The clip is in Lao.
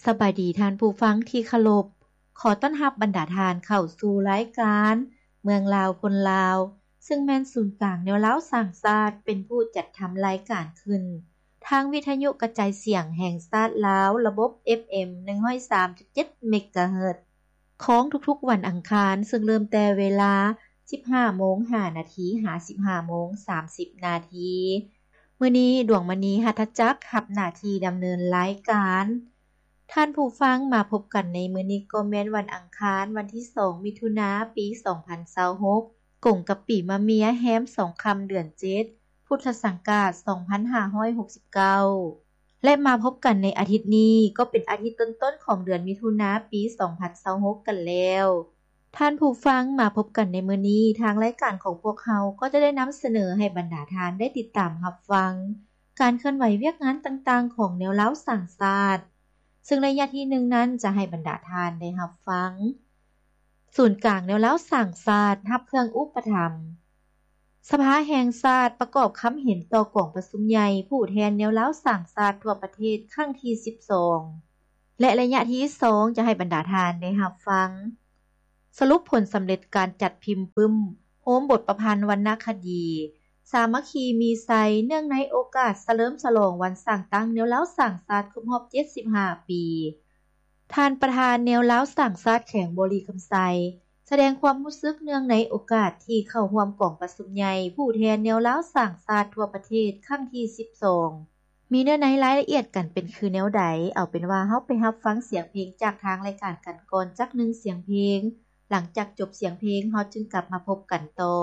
ສະບາຍດີທ່ານຜູ້ຟັງທີ່ເຄົາລົບ. ຂໍຕ້ອນຮັບບັນດາທ່ານເຂົ້າສູ່ລາຍການເມືອງລາວຄົນລາວ, ເຊິ່ງແມ່ນສູນກາງແນວລາວສ້າງຊາດເປັນຜູ້ຈັດທຳລາຍການຂຶ້ນ ທາງວິທະຍຸກະຈາຍສຽງແຫ່ງຊາດລາວ ລະບົບ ເອັຟເອັມ ໜຶ່ງຮ້ອຍສາມຈຸດເຈັດ ເມກາເຮີດ ຂອງທຸກໆວັນອັງຄານ, ເຊິ່ງເລີ່ມແຕ່ເວລາ ສິບຫ້າໂມງຫ້ານາທີ ຫາ ສິບຫ້າໂມງສາມສິບນາທີ. ມື້ນີ້ ດວງມະນີ ຫັດຖະຈັກ ຮັບໜ້າທີ່ດຳເນີນລາຍການ. ທ່ານຜູ້ຟັງ, ມາພົບກັນໃນມື້ນີ້ກໍແມ່ນວັນອັງຄານ ວັນທີສອງ ມິຖຸນາ ປີສອງພັນຊາວຫົກ ກົງກັບປີມະເມຍ ແຮມສອງຄ່ຳ ເດືອນເຈັດ ພຸດທະສັງກາດ ສອງພັນຫ້າຮ້ອຍຫົກສິບເກົ້າ ແລະ ມາພົບກັນໃນອາທິດນີ້ ກໍເປັນອາທິດຕົ້ນໆຂອງເດືອນມິຖຸນາ ປີສອງພັນຊາວຫົກກັນແລ້ວ. ທ່ານຜູ້ຟັງ, ມາພົບກັນໃນມື້ນີ້, ທາງລາຍການຂອງພວກເຮົາກໍຈະໄດ້ນຳສະເໜີໃຫ້ບັນດາທ່ານໄດ້ຕິດຕາມຮັບຟັງ ການເຄື່ອນໄຫວວຽກງານຕ່າງໆຂອງແນວລາວສ້າງຊາດ, ເຊິ່ງໄລຍະທີໜຶ່ງນັ້ນຈະໃຫ້ບັນດາທ່ານໄດ້ຮັບຟັງ ສູນກາງແນວລາວສ້າງຊາດ ຮັບເຄື່ອງອຸປະຖຳ. ສະພາແຫ່ງຊາດປະກອບຄຳເຫັນຕໍ່ກອງປະຊຸມໃຫຍ່ຜູ້ແທນແນວລາວສ້າງຊາດທົ່ວປະເທດຄັ້ງທີສິບສອງ ແລະ ໄລຍະທີສອງຈະໃຫ້ບັນດາທ່ານໄດ້ຮັບຟັງ ສະຫຼຸບຜົນສຳເລັດການຈັດພິມປຶ້ມໂຮມບົດປະພັນວັນນະຄະດີ ສາມັກຄີມີໄຊ ເນື່ອງໃນໂອກາດສະເຫຼີມສະຫຼອງວັນສ້າງຕັ້ງແນວລາວສ້າງຊາດຄົບຮອບເຈັດສິບຫ້າປີ. ທ່ານປະທານແນວລາວສ້າງຊາດແຂວງບໍລິຄຳໄຊ ສະແດງຄວາມຮູ້ສຶກເນື່ອງໃນໂອກາດທີ່ເຂົ້າຮ່ວມກອງປະຊຸມໃຫຍ່ຜູ້ແທນແນວລາວສ້າງຊາດທົ່ວປະເທດຄັ້ງທີສິບສອງ ມີເນື້ອໃນລາຍລະອຽດກັນເປັນຄືແນວໃດ? ເອົາເປັນວ່າເຮົາໄປຮັບຟັງສຽງເພງຈາກທາງລາຍການກັນກ່ອນຈັກໜຶ່ງສຽງເພງ, ຫຼັງຈາກຈົບສຽງເພງ ເຮົາຈຶ່ງກັບມາພົບກັນຕໍ່.